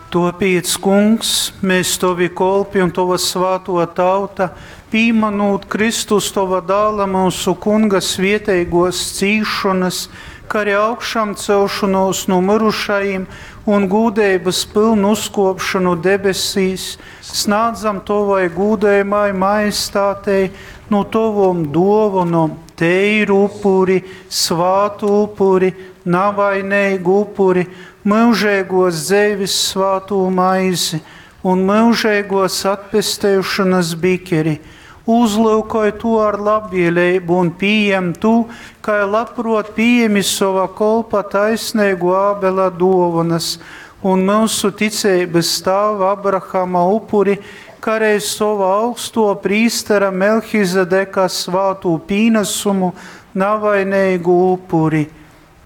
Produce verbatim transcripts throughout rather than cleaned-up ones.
Tuopiec, Kungs, mēs tovi kolpi un tova svātuo tauta, pīmanūt Kristus tova dāla myusu Kunga svieteiguos cīšonys, kā arī augšamcelšonuos nu myrušajim un gūdeibys pylnu uzkuopšonu debesīs, snādzam tovai gūdejamai majestātei nu tovom duovonom teiru upuri, svātu upuri, navaineigu upuri, myužeigos dzeivis svātū maizi un myužeigos atpesteišonas bikeri. Uzlyukoj tu ar labvieleibu un pījem tu, kai labpruot pījemi sova kolpa taisneigu Ābela duovanas un myusu ticeibys tāva Abrahama upuri, kā arī sova augsto prīstera Melhizedeka svātū pīnesumu, navaineigu upuri.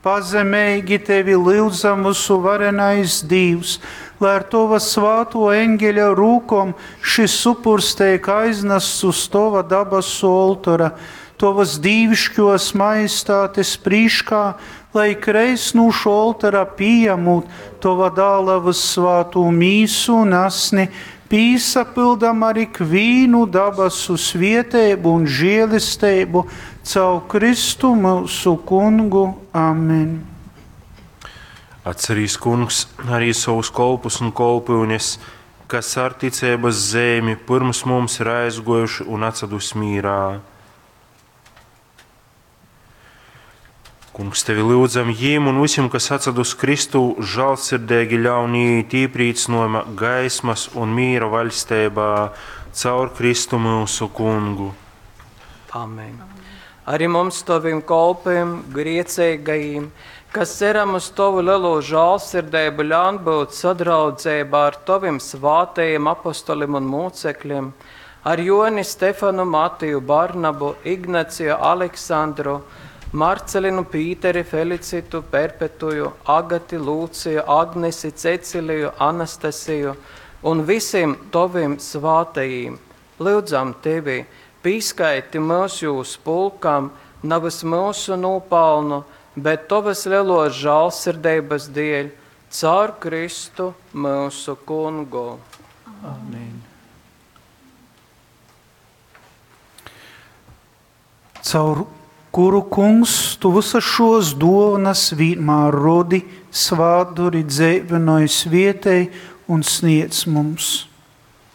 Pazemeigi tevi lyudzam vysuvarenais Dīvs, lai ar tova svātuo eņgeļa rūkom šis upurs teik aiznasts uz tova dabasu oltora, tovas dīvišķos majestātes prīškā, lai ikreiz nu šo oltora pījamūt tova dāla vyssvātū mīsu un asni, pīsapyldam ar ikvīnu dabasu svieteibu un žielisteibu caur Kristu myusu Kungu. Amen. Atcerīs, Kungs, arī savus kolpus un kolpyunes, kas ar ticeibas zeimi pirms mums ir aizgojuši un atsadus mīrā. Kungs, tevi lyudzam jīm un visiem, kas atsadus Kristu, žālsirdīgi ļaun iet īprīcinojuma gaismas un mīra vaļsteibā caur Kristu myusu Kungu. Amen. Arī mums, tovim kolpiem, griecīgajiem, kas ceram uz tovu lielo žālsirdību, ļaun būt sadraudzībā ar tovim svātajiem apostolim un mūcekļiem, ar Joni, Stefanu, Matiju, Barnabu, Ignaciju, Aleksandru, Marcelinu, Pīteri, Felicitu, Perpetuju, Agati, Lūciju, Agnesi, Ceciliju, Anastasiju un visiem tovim svātajiem. Lūdzam tevi, pīskaiti mūs jūs pulkam, navas mūsu nopelnu, bet tovas lielos žālsirdības dēļ, caur Kristu mūsu Kungu. Amen. Caur kuru, Kungs, tu visas šos dovanas vienmēr rodi, svātduri, dzeivinoj, svietēj un sniedz mums.